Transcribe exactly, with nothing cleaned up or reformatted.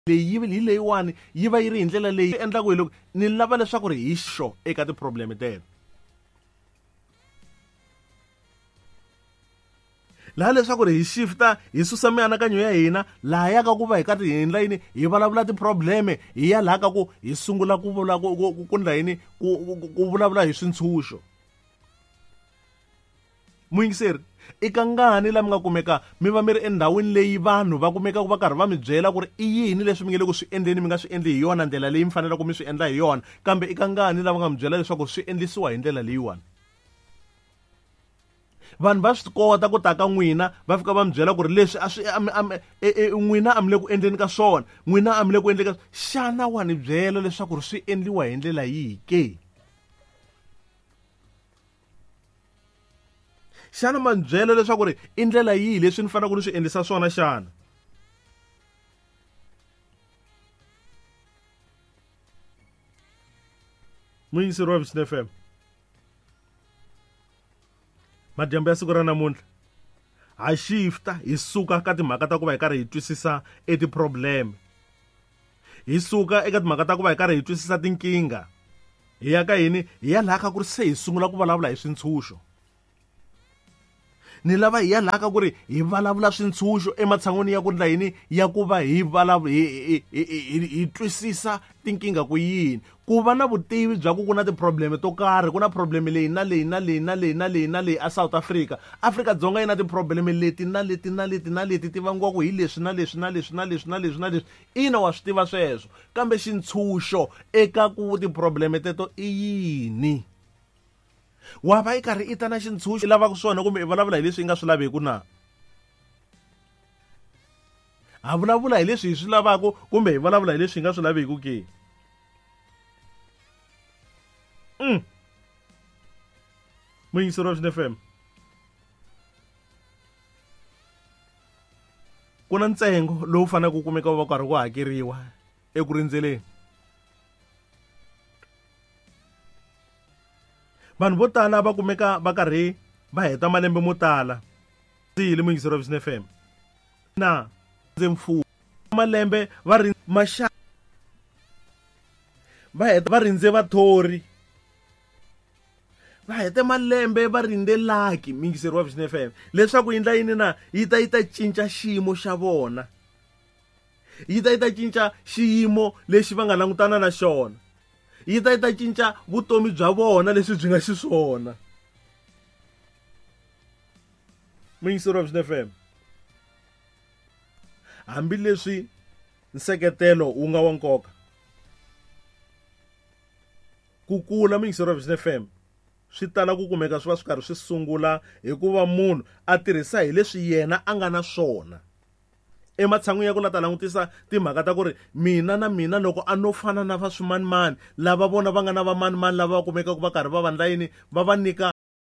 Leyi hi leyiwani yi va yi ri hi ndlela leyi endlaku hi loko ni lava leswaku ri hi xo eka ti-problem teto. Laha leswaku ri hi shifta hi susa mianakanyo ya hina laha ya ka ku va hi karhi hi endla yini hi vulavula ti-problem hi ya laha ka ku hi sungula ku vula ku ku ku ndla yini ku ku vulavula hi swintshuxo. Muyingiseri i kangani la mi nga kumeka mi va mi ri endhawini leyi vanhu va kumekaka va karhi va mi byela ku ri i yini leswi mi nge le ku swi endleni mi nga swi endli hi yona ndlela leyi mi faneleke mi swi endla hi yona, kambe i kangani lava nga mi byela leswaku swi endlisiwa hi ndlela leyiwani. Vanhu va swi kota ku ta ka n'wina va fika va mi byela ku ri leswi a swi n'wina a mi le ku endleni ka swona, n'wina a mi le ku endleni ka xana wa ni byela leswaku ri swi endliwa hi ndlela yihi ke? Xana ma ni byela leswaku ri i ndlela yihi leswi ni faneleke ni swi endlisa swona xana? Muyingiseri wa Vision F M, madyambu ya siku ra namuntlha ha shifta hi suka ka timhaka ta ku va hi karhi hi twisisa e ti-problem, hi suka eka timhaka ta ku va hi karhi hi twisisa tinkingha, hi ya ka yini, hi ya laha ka ku ri se hi sungula ku vulavula hi swintshuxo. Ni lava hi ya laha ka ku ri hi vulavula swintshuxo ematshan'wini ya ku ndla yini, ya ku va hi hi hi hi twisisa tinkingha ku yini. Ku va na vutivi bya ku ku na ti-problem to karhi, ku na problem leyi na leyi na leyi na leyi na leyi na leyi a South Africa. Afrika-Dzonga yi na ti-problem leti na leti na leti na leti ti vangiwaka hi leswi na leswi na leswi na leswi na leswi na leswi. Ina wa swi tiva sweswo, kambe xintshuxo eka ku ti-problem teto i yini? Wa va yi karhi i ta na xintshuxo i lavaka swona kumbe i vulavula hi leswi i nga swi laveki na? Ha vulavula hi leswi hi swi lavaka kumbe hi vulavula hi leswi hi nga swi laveki ke? Mm. Muyingiseri wa Vision F M, ku na ntsengo lowu faneleke ku kumeka wu va karhi ku hakeriwa eku rindzeleni. Vanhu vo tala va kumeka va karhi va heta malembe mo tala. Ndzi muyingiseri wa Vision F M na ndze mfumo malembe va ri maxa va heta va rindze vathori, va hete malembe va rindze laki muyingiseri wa Vision F M leswaku yi ndla yini na yi ta yi ta cinca xiyimo xa vona, yi ta yi ta cinca xiyimo lexi va nga langutana na xona, yi ta yi ta cinca vutomi bya vona leswi byi nga xiswona. Muyingiseri wa Vision F M, hambileswi nseketelo wu nga wa nkoka, ku kula muyingiseri wa Vision F M swi tala ku kumeka swi va swi karhi swi sungula hikuva munhu a tirhisa hi leswi yena a nga na swona. Ematshan'wini ya ku la ta langutisa timhaka ta ku ri mina na mina loko a no fana na va swimanimani lava vona va nga na vamanimani lava va kumekaka va karhi va va ndla yini, va va nyika